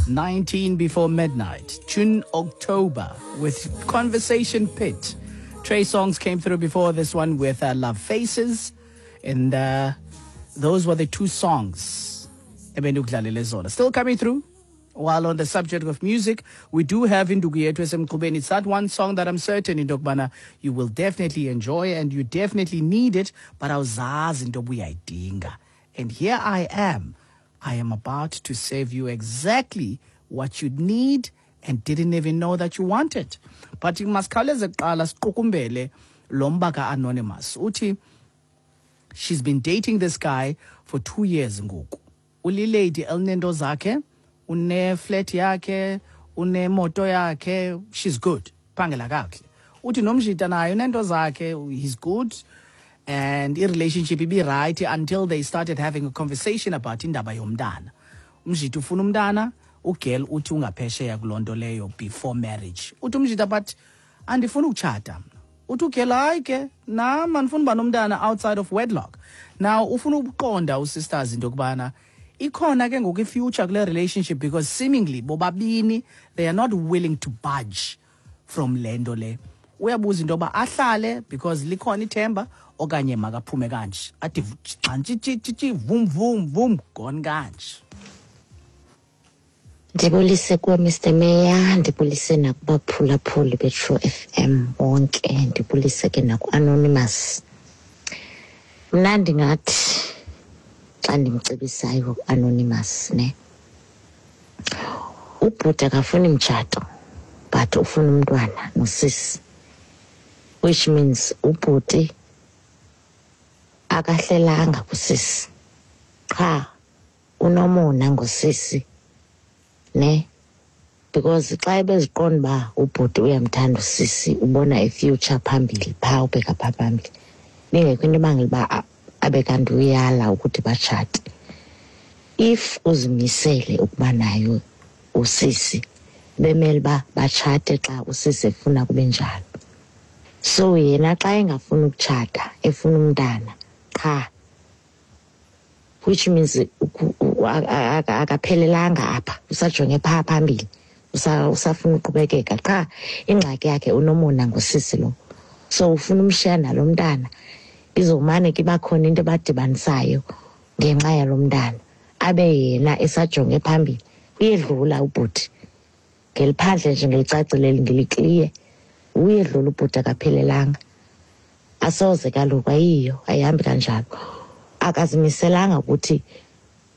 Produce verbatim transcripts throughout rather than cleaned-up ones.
nineteen before midnight, June, October, with Conversation Pit. Trey Songz came through before this one with uh, Love Faces, and uh, those were the two songs. Still coming through. While on the subject of music, we do have Indugu Yethu Esemqubeni. It's that one song that I'm certain, Indokbana, you will definitely enjoy and you definitely need it. But awuzazi into obuyayidinga. And here I am. I am about to save you exactly what you need and didn't even know that you wanted. But masikhawuleze kuqala siqukumbele lo mba ka-Anonymous. Uthi, she's been dating this guy for two years ngoku. Ulilady elinento zakhe, une-flat yakhe, unemoto yakhe, she's good. Phangela kakuhle. Uthi nomjita naye unento zakhe, he's good. And i-relationship ibi right until they started having a conversation about indaba yomntana. Umjita ufuna umntana, ugirl uthi ungaphesheya kuloo nto leyo before marriage. Uthi umjita, but andifuni ukutshata mna. Uthi ugirl, hayi ke, nam andifuni uba nomntana outside of wedlock. Now, ufuna ukuqonda usisters into yokubana ikhona ke ngoku i-future kule relationship, because seemingly bobabini they are not willing to budge from le nto le. Uyabuza into yoba ahlale because likhona ithemba okanye makaphume kanje. Athi xantshi vum vum vum gone kanje. Ndibulise kuwe Mister Mayor, ndibulise nakubaphulaphuli beTrue F M bonke, ndibulise ke naku-Anonymous. Mna ndingathi xa ndimcebisayo ku-Anonymous ne, ubhuti akafuni mtshato but ufuna umntwana nosisi, which means ubhuti akahlelanga kusisi, qha unomona ngosisi ne, because xa ebeziqonda uba ubhuti uyamthanda usisi, ubona i-future phambili phaa, ubheka phaa phambili, bingekho into ebangela uba abe kanti uyala ukuthi batshate. If uzimisele ukuba nayo usisi, bemele uba batshate xa usisi efuna kube njalo. So yena xa engafuni ukutshata, efuna umntana qha, which means akaphelelanga apha, usajonge phaa phambili, usafuna uqhubekeka. Qha ingxaki yakhe unomona ngosisi lo, so ufuna umshiya nalo mntana, izomane ke bakhona into ebadibanisayo ngenxa yalo mntana, abe yena esajonge phambili. Uyedlula ubhuti ngeliphandle nje, ngelicacile ngelikliye, uyedlula ubhuti, akaphelelanga. Asoze kaloku, ayiyo, ayihambi kanjalo. Akazimiselanga ukuthi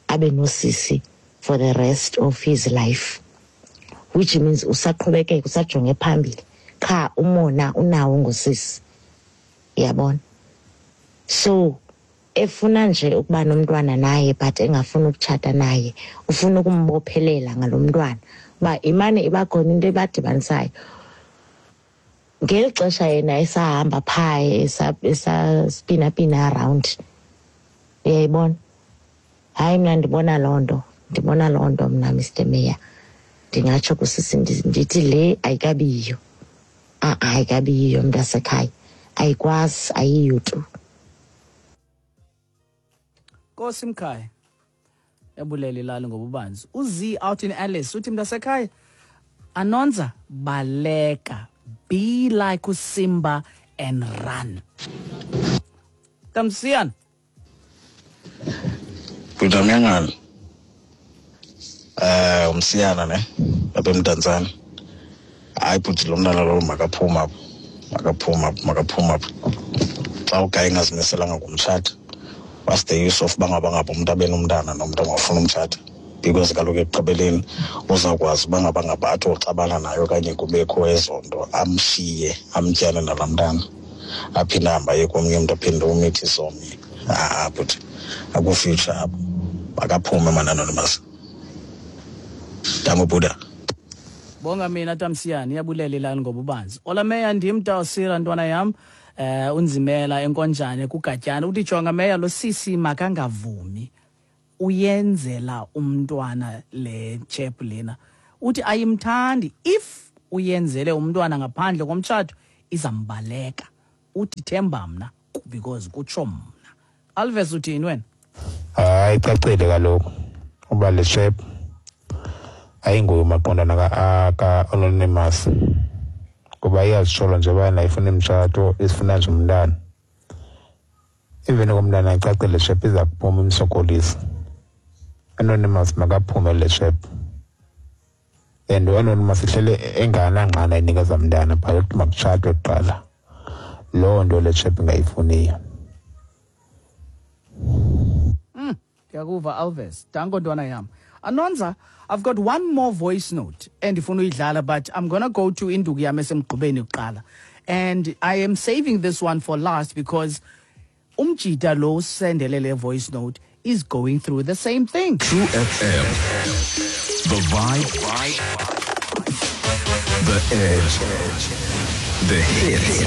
abe nosisi for the rest of his life, which means usaqhubekeka, usajonge phambili, qha umona unawo ngosisi, uyabona. So efuna nje ukuba nomntwana naye but engafuni ukutshata naye, ufuna ukumbophelela ngalo mntwana uba imane iba khona into ebadibanisayo. Ngeli xesha yena esahamba phaa, esaspina-pina around, uyayibona. Hayi, mna ndibona loo nto, ndibona loo nto mna Mister Mayor. Ndingatsho kusisi ndithi le ayikabiyiyo, a-a ayikabiyiyo mntasekhaya, ayikwazi, ayiyo tu. Nkosi mkhaya, yabulela ilali ngobubanzi. UZ out in Alice uthi mntasekhaya, Anonza, baleka, be like uSimba and run. Tamsian. Bhuti eh umsiyana ne lapha eMdantsane. Hayi bhuti, lo mntana lo makaphuma apho, makaphuma apho, makaphuma apho. Xa ugayi engazimiselanga ngumtshata, what's the use of bangaba ngapha umuntu abe nomntana nomntu ongafuni umtshata? Because kaloku ekugqibeleni uzawukwazi uba ngaba ngaba athi uxabana naye okanye kubekho ezo nto, amshiye amtyane nalaa mntana, aphinde ahambe aye komnye umntu, aphinde umithise omnye. Ah bhuti, akufuture apho, makaphume mani Anonymous. Dango Buddha. Bonga mina Tamsiyani, iyabulela ilali ngobubanzi. Ola Meya, ndim Tawusira ntwana yam, eh unzimela enkonjane kuGatyana. Uthi jonga Meya, lo sisi makangavumi, uyenzela umntwana le chep lena. Uthi ayimthandi, if uyenzele umntwana ngaphandle komtshato izambaleka. Uthi themba mna because kutsho mna. Alves, uthini wena? Hayi, icacile kaloku uba le chep Ayinguye umaqondana ka-Anonymous, kuba iyazitshola nje ubana ifuna imitshato, isifuna nje umntana. Even komntana icacile le shep iza kuphuma imsokolisa. Anonymous makaphume le shep. And u-Anonymous ihlele enganangqana inikeza mntana phaa ukuthi makutshatwe kuqala. Loo nto le shep ingayifuniyo. Mm, ndiyakuva Alves. Danko ntwana yam. Anonza, I've got one more voice note endifuna uyidlala, but I'm gonna go to induku yam esemgqubeni kuqala. And I am saving this one for last because umjita lo usendele le voice note is going through the same thing. True F M. The vibe. The edge. The hits.